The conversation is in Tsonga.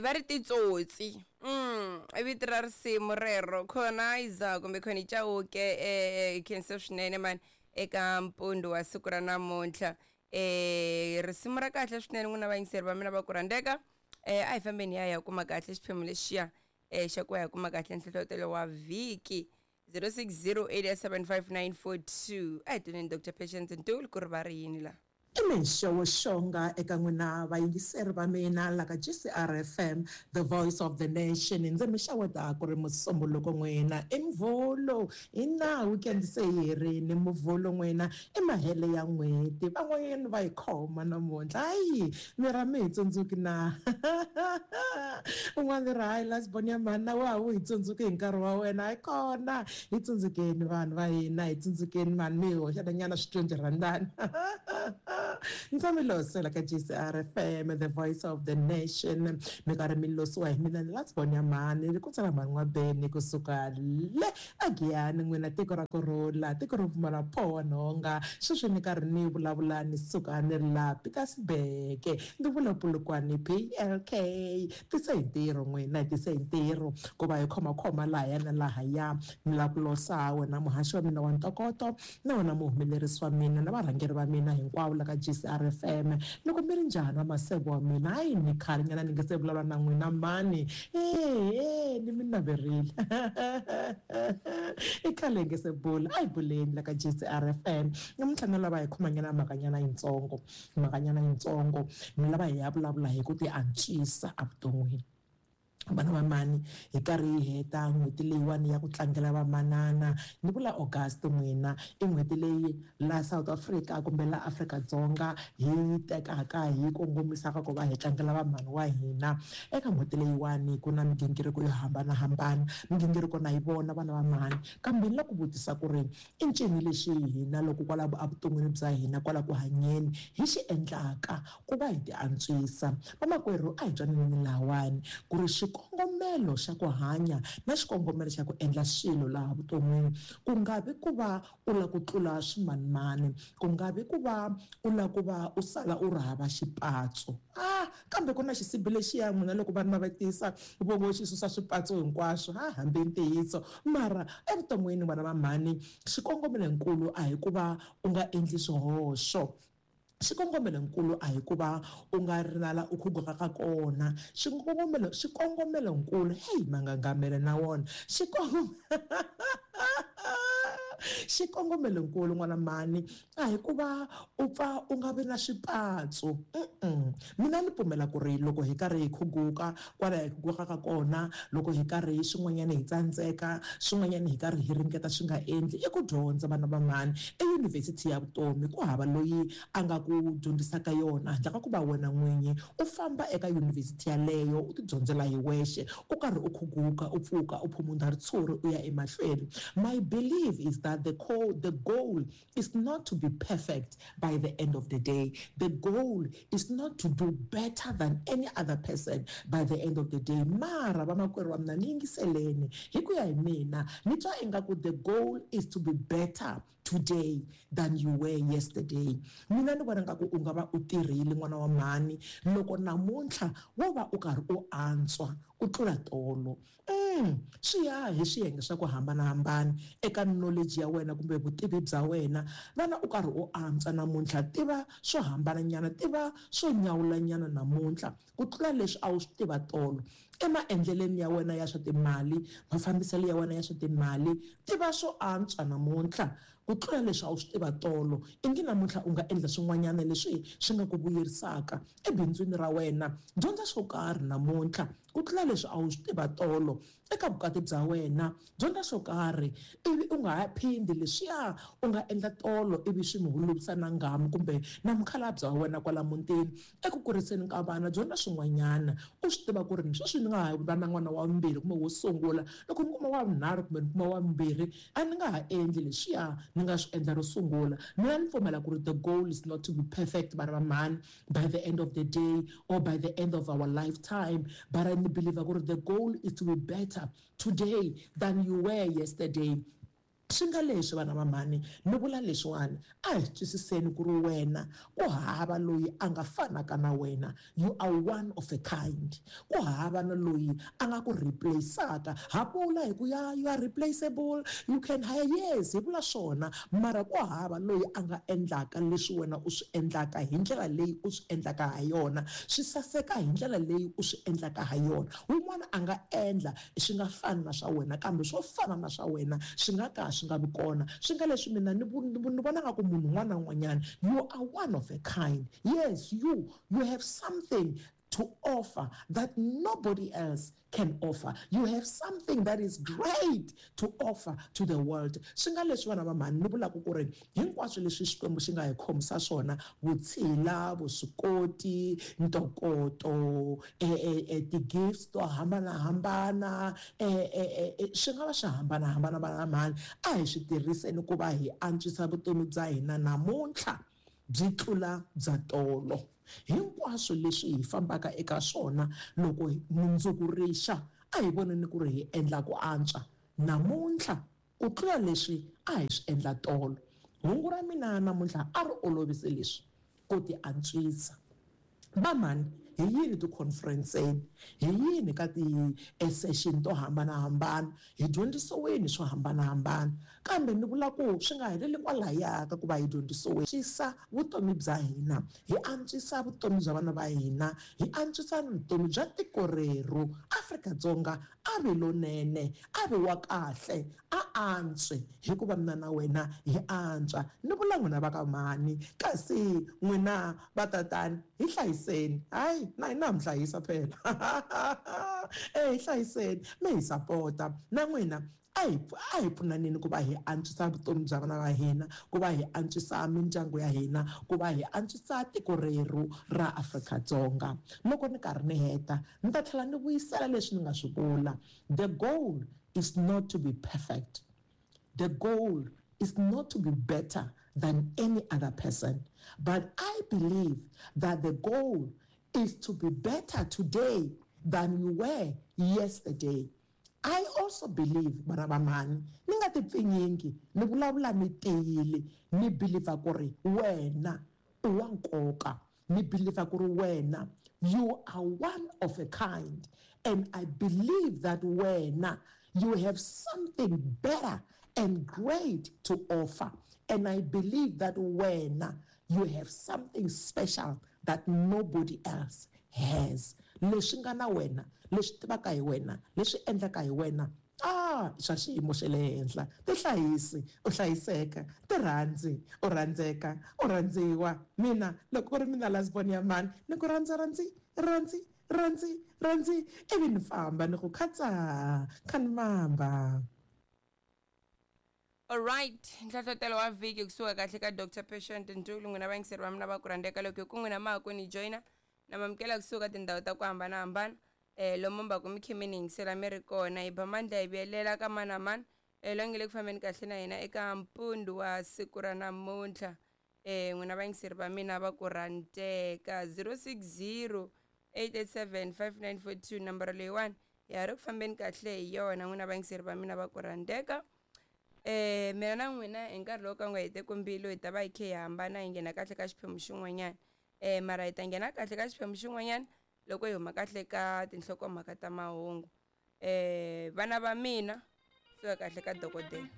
Va ri titsotsi. I vito ra risimu rero Khonaiza kumbe Khoni Chauke hi khensa swinene mani eka mpundu wa siku ra namuntlha. Risimu ra kahle swinene n'wina vayingiseri va mina va ku rhandzeka. A hi fambeni hi ya hi ya kuma kahle xiphemu lexiya xa ku ya hi kuma kahle nhlohlotelo wa vhiki 0608755942. A hi tweleni Dr Patience Ntuli ku ri va ri yini la. I mixo wo xonga eka n'wina vayingiseri va mina la ka GCR FM, The Voice of the Nation. Ndzi mi xeweta ku ri Musumbhuluko n'wina. I Muvhulo, ina weekend se yi herile. Muvhulo n'wina i mahele ya n'hweti. Van'wanyana va yi khoma namuntlha. Hayi, mi ra mi hi tsundzuki na? Un'wana ri hayi last born ya mhani na wa ha wu hi tsundzuki hi nkarhi wa wena. Hayi kona, hi tsundzukeni vanhu va hina, hi tsundzukeni mani mi hi hoxelanyana swi twenty rhandani. Ndza mi losela ka GCR FM, The Voice of the Nation. Mi karhi mi losiwa hi mina ni last born ya mhani, ri ku tsala mhani wa Beni kusuka le a Giyani n'wina tiko ra ku rhula, tiko ro pfumala phowa nhonga. Sweswi ni karhi ni vulavula ni suka ni ri la Pietersburg, ni vula Polokwane PLK. Tise hi ntirho n'wina, hi tise hi ntirho ku va hi khomakhoma lahaya na lahaya. Ni lava ku losa wena muhaxi wa mina wa ntokoto na wena muhumelerisi wa mina na varhangeri va mina hinkwavo la ka GCR FM. Loko mi ri njhani vamaseve wa mina? Hayi ni khale nyana ni nge se vulavula na n'wina mhani. Ehe, ni mi naverile. I khale hi nge se bula. A hi buleni la ka GCR FM. Namuntlha no lava hi khomanyana mhakanyana yitsongo, mhakanyana yitsongo. Ni lava hi ya vulavula hi ku tiantswisa evuton'wini. Vana va mani hi karhi hi heta n'hweti leyiwani ya ku tlangela vamanana ni vula August n'wina i n'hweti leyi la South Africa kumbe la Afrika-Dzonga hi yi tekaka hi yi kongomisaka ku va hi tlangela vamhani wa hina eka n'hweti leyiwani ku na migingiriko yo hambanahambana migingiriko na yi vona vana va mhani kambe ni la ku vutisa ku ri I ncini lexi hina loko kwala evuton'wini bya hina kwala ku hanyeni hi xi endlaka ku va hi tiantswisa? Vamakwerhu, a hi twananeni lahawani ku ri xikongomelo xa ku hanya na xikongomelo xa ku endla swilo laha vuton'wini ku nga vi ku va u la ku tlula swimanimani, ku nga vi ku va u la ku va u sala u ri hava xipatso. A Kambe ku na xisibi lexiya n'wina loko va navetisa vo ngo xi susa swipatso hinkwaswo. Ha hambi ntiyiso. Mara evuton'wini n'wana va mhani, xikongomelonkulu a hi ku va u nga endli swihoxo. Xikongomelonkulu a hi ku va u nga ri na la u khugukaka kona. Xikongomelo xikongomelonkulu, heyi mangangamelo na wona. Xikongomelonkulu n'wana mhani A hi ku va u pfa u nga vi na swipatso. E-e. Mina ni pfumela ku ri loko hi karhi hi khuguka kwala hi khugukaka kona, loko hi karhi swin'wanyana hi tsandzeka, swin'wanyana hi karhi hi ringeta swi nga endli, i ku dyondza vana va mhani. Eyunivhesiti ya vutomi ku hava loyi a nga ku dyondzisaka yona handle ka ku va wena n'winyi u famba eka yunivhesiti yaleyo u tidyondzela hi wexe, u karhi u khuguka, u pfuka, u phumunda ritshuri u ya emahlweni. My belief is that the the goal is not to be perfect by the end of the day. The goal is not to do better than any other person by the end of the day. Mara vamakwerhu wa mina ni yingiseleni hi ku ya hi mina ni twa ingaku the goal is to be better today than you were yesterday. Mina ni vona ngaku u nga va u tirhile n'wana wa mhani loko namuntlha wo va u karhi u antswa ku tlula tolo. Umm, swi ya hi swiyenge swa ku hambana-hambana eka knowledge ya wena kumbe vutivi bya wena. Vana u karhi u antswa namuntlha, tiva swo hambananyana, tiva swo nyawulanyana namuntlha ku tlula leswi a wu swi tiva tolo. Emaendleleni ya wena ya swa timali, mafambiselo ya wena ya swa timali, tiva swo antswa namuntlha ku tlula leswi a wu swi tiva tolo. Ingi namuntlha u nga endla swin'wanyana leswi swi nga ku vuyerisaka ebindzwini ra wena. Dyondza swo karhi namuntlha ku tlula leswi a wu swi tiva tolo. Eka vukati bya wena, dyondza swo karhi ivi u nga ha phindhi leswiya u nga endla tolo ivi swi mi holovisa na nghamu kumbe na mukhalabye wa wena kwala mutini. Eku kuriseni ka vana, dyondza swin'wanyana u swi tiva ku ri sweswi ni nga ha va na n'wana wa vumbirhi kumbe wo sungula, loko ni kuma wa vunharhu kumbe ni kuma wa vumbirhi a ni nga ha endli leswiya ni nga swi endla ro sungula. Mina ni pfumela ku ri the goal is not to be perfect vana va mhani by the end of the day or by the end of our lifetime but ni believer ku ri the goal is to be better today than you were yesterday. Swi nga leswi vana va mhani ni vula leswiwani, a hi twisiseni ku ri wena ku hava loyi a nga fanaka na wena, you are one of a kind. Ku hava na loyi a nga ku replace-aka. Ha vula hi ku ya you are replaceable, you can hire, yes hi vula swona, mara ku hava loyi a nga endlaka leswi wena u swi endlaka hi ndlela leyi u swi endlaka ha yona, swi saseka hi ndlela leyi u swi endlaka ha yona. Wun'wana a nga endla swi nga fani na swa wena, kambe swo fana na swa wena swi nga ka swi nga vi kona. Swi nga leswi mina ni ni vona nga ku munhu un'wana na un'wanyana, you are one of a kind. Yes, you have something to offer that nobody else can offer. You have something that is great to offer to the world. Swi nga leswi vana va mhani ni vulaka ku ri hinkwaswo leswi Xikwembu xi nga hi khomisa swona, vutshila, vuswikoti, ntokoto, ti-gifts to hambanahambana, swi nga va swi hambanahambana vana va mhani, a hi swi tirhiseni ku va hi antswisa vutomi bya hina namuntlha byi tlula bya tolo. Hinkwaswo leswi hi fambaka eka swona loko mundzuku rixa, a hi voneni ku ri hi endla ku antswa namuntlha ku tlula leswi a hi swi endla tolo. Hungu ra mina namuntlha a ri olovise leswi, ku ti antswisa. Va mhani, hi yini ti-conference-eni, hi yini ka ti-session to hambanahambana, hi dyondzisiweni swo hambanahambana, kambe ni vula ku swi nga heleli kwalaya ka ku va hi dyondzisiwe. Antswisa vutomi bya hina, hi antswisa vutomi bya vana va hina, hi antswisa vutomi bya tiko rerhu. Afrika-Dzonga a vi lonene, a vi wa kahle, a antswe, hikuva mina na wena hi antswa. Ni vula n'wina va ka mhani, kasi n'wina va tatani hi hlayiseni. Hayi, na hina ha mi hlayisa phela. Hi hlayiseni, mi hi sapota. Na n'wina a hi pfunaneni ku va hi antswisa vutomi bya vana va hina, ku va hi antswisa mindyangu ya hina, ku va hi antswisa tiko rerhu ra Afrika-Dzonga. Loko ni karhi ni heta, ni ta tlhela ni vuyisela leswi ni nga swi vula. The goal is not to be perfect. The goal is not to be better than any other person. But I believe that the goal is to be better today than you were yesterday. I also believe, vana va mhani, ni nga ti pfinyingi, ni vulavula ni tiyile, ni believe ku ri wena u wa nkoka, ni believe ku ri wena you are one of a kind, and I believe that wena you have something better and great to offer, and I believe that wena you have something special that nobody else has. Leswi nga na wena, leswi tivaka hi wena, leswi endlaka hi wena, swa xiyimo xa le henhla. Tihlayisi, u hlayiseka, tirhandzi, u rhandzeka, u rhandziwa. Mina loko ku ri mina Lasbon ya mhani, ni ku rhandza rhandzi, rhandzi, rhandzi, rhandzi, ivi ni famba ni ku khatsa, kha ni mamba. All right, nhlohlotelo wa vhiki kusuka kahle ka Dr. Patient Ntuli, n'wina vayingiseri va mina va ku rhandzeka loko hi ku n'wina ma ha ku ni joyina, na mamukela kusuka tindhawu ta ku hambanahambana. Lomu mi va ku mi khe mi ni yingisela mi ri kona, hi ba mandla hi vuyelela ka mani na mani, loyi nge le ku fambeni kahle na hina eka mpundzu wa siku ra namuntlha. N'wina vayingiseri va mina va ku rhandzeka, 060 887 5942, nambara leyiwani ya ha ri ku fambeni kahle hi yona, n'wina vayingiseri va mina va ku rhandzeka. Mina na n'wina hi nkarhi lowu ka nga heteki mbilu hi ta va hi khe hi hambana hi nghena kahle ka xiphemu xin'wanyana. Mara hi ta nghena kahle ka xiphemu xin'wanyana loko hi huma kahle ka tinhlokomhaka ta mahungu. Vana va mina, suka kahle ka dokodela.